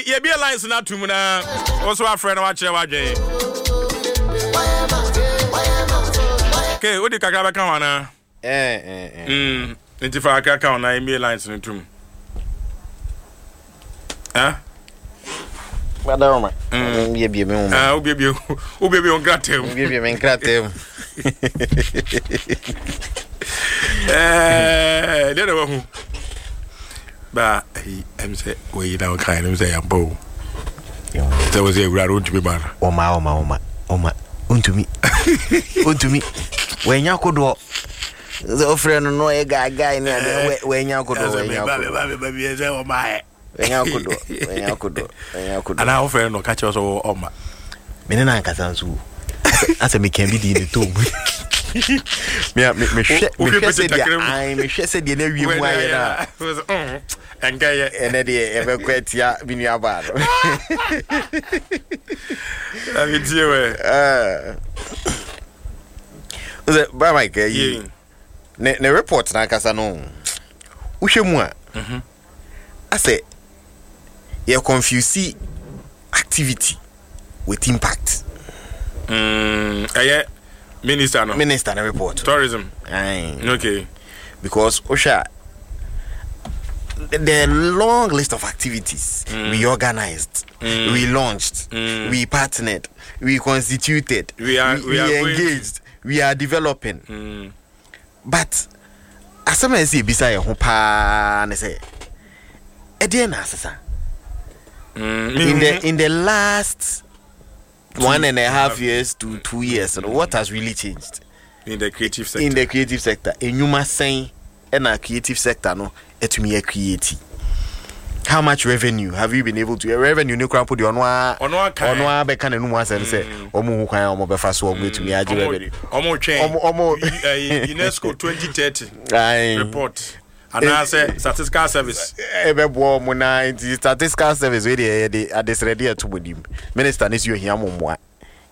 Nti yɛbie lines no atom na wo so afrɛ na wakyerɛ w'adwene. Okay, wode kakra bɛka ho anaa? Eh, eh, eh. Nti fa kakra ka ho na yɛmmie lines no tom. Eh? Badaroma. Mbiebie me nwoma. Ah, wobiebie wobiebie wo nkrataa mu. Mbiebie me nkrataa mu. Eh, deɛ na wahu. Ba ayi ɛm sɛ wɔyi na wɔka ɛm sɛ yɛmpɔ o. Sɛ wɔ sɛ awura no wontumi ma no. Ɔma ɔma ɔma ɔma wontumi wontumi wɔanya kodoɔ sɛ wofrɛ no no ɔyɛ gaagae ne adeɛ wɔanya kodoɔ wɔanya kodoɔ. Wanya kodoɔ, wanya kodoɔ, wanya kodoɔ. Anaa wofrɛ no ɔka kyerɛ sɛ ɔma. Me ne no ankasa nso o. Asɛ meka bi di ne tom. Mehwɛ mehwɛ sɛ deɛ ae mehwɛ sɛ deɛ na awie mu ayɛ no a. Ɛnkɛyɛ. Ɛnɛ deɛ yɛbɛkɔ atia me nua baa no. Ametie wɛ. Sɛ bra Mike ayi ne ne report n'ankasa no wohwɛ mu a. Asɛ yɛ confuse activity with impact. Mm, ɛyɛ minister no. Minister no report. Tourism. Aye. Okay. Because wohwɛ a the long list of activities we organized, we launched, we partnered, we constituted, We are going to engaged, we are developing. But asɛm a ɛsɛ yɛbisa yɛn ho paa ne sɛ, ɛdeɛn na asesa? In the last 1.5 years to 2 years no, what has really changed in the creative sector? In the creative sector, enyuma sɛn ɛna creative sector no ɛtumi yɛ create? How much revenue have you been able to revenue ne kora mpo deɛ, ɔno a Ɔno aka. Ɔno a bɛka n'anum asɛm sɛ ɔmo hu kwan a ɔmo bɛfa so ɔmo etumi agye revenue. Ɔmo twɛn Ɔmo UNESCO 2030 report anaasɛ Statistical Service. Ɛbɛboa ɔmo na nti Statistical Service wei deɛ, yɛde adesrɛde ɛto mo nim. Minister ne si ohia mo mmoa,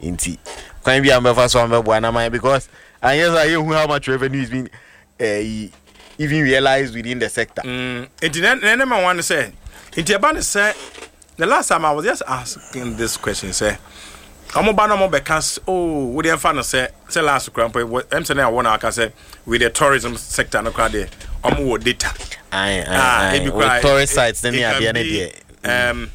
nti kwan bi a mbɛfa so a mbɛboa na man, because anyɛ sɛ yɛhu how much revenue is being even realized within the sector. Nti na ne ma one sɛ nti ɛba ne sɛ the last time I was just asking this question sɛ ɔmo ba na ɔmo bɛka oh, wo deɛ nfa no sɛ last kora mpo ɛm sɛ na ɛwɔ na aka sɛ with the tourism sector no kora deɛ, ɔmo wɔ data. Aye, aye, Ah, aye. Ebi koraa with tourist sites ne it can adeɛ ne be, deɛ.